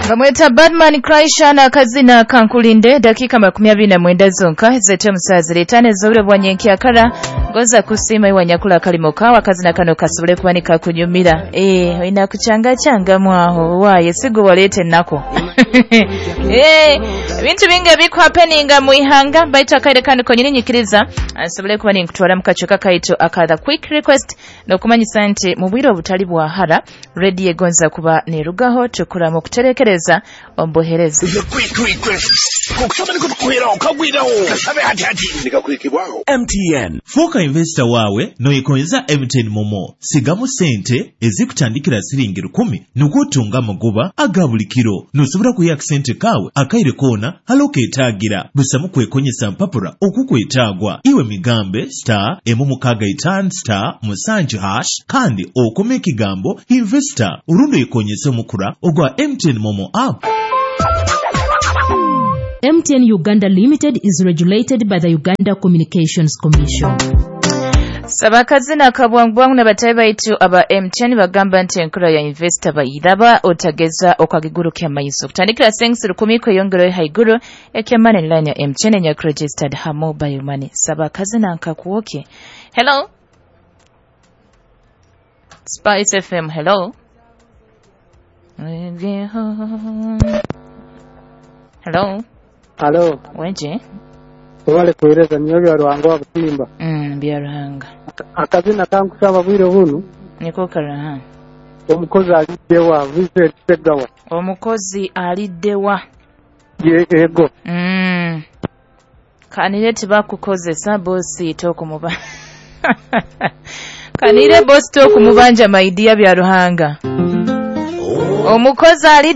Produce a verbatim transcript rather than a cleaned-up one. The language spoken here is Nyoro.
Bamweta Badman Kraisha akazina kankulinde. Dakika makumi abiri na mwenda zonka zete omusazi etaano ez'obwire bwa nyenkyakara. Ngoza kusiima iwe nyakula kalimo kawe, akazina kano kasobole kuba nikakunyumira. Eh, olina kukyangacyangamu aho waaye sigo waleeta ennaku. Eh, ebintu bingi ebikuhapeninga mu ihanga, baitu akaire kano konyini nyikiriza nsobole kuba ninkutwara mu kacuka kaitu aka The Quick Request, n'okumanyisa nti mu bwire obutali bwahara rediyo egonza kuba nerugaho tukuramu okuterekereza omubuhereza. The Quick Request. Kukusaba nikutukuhiraho kagwiraho kasabe hati hati nikakwikibwaho M T N. Fuuka investor waawe noyekonyeza M T N MoMo. Sigamu sente ezikutandikira siringi rukumi nukwo otunga amagoba aga buli kiro. Nosobora kwiha akasente kaawe akaire koona hali oketaagira busamu kwekonyesa mpapura okukwetaagwa. Iwe migambe star emu mukaaga itaano star musanju hash kandi okome ekigambo investor orundi oyekonyese omukura ogwa M T N MoMo app. M T N Uganda Limited is regulated by the Uganda Communications Commission. Saba akazina akabwangubwangu n'abatayi baitu aba M T N bagamba nti enkura ya investor bayiraba otageza okagigurukya amaiso kutandikira sensi rukumi kweyongerayo haiguru. Ekyamani line ya M T N enyaku registered ha mobile money. Saba akazina nkakuwoke. Hello, Spice F M, hello, hello. Halo, Weje. Webale kuweereza niyo bya Ruhanga wa Butimba. mm, bya Ruhanga. Akazina kankusaba bwire bunu, Niko karaha. Omukozi aliddewa, Vincent Segawa. Omukozi aliddewa. Ye ego. Mm. Kanire tibakukozesa bosi tokumuba. Kanire bosi tokumubanja maidia bya Ruhanga. Omukozi aliddewa.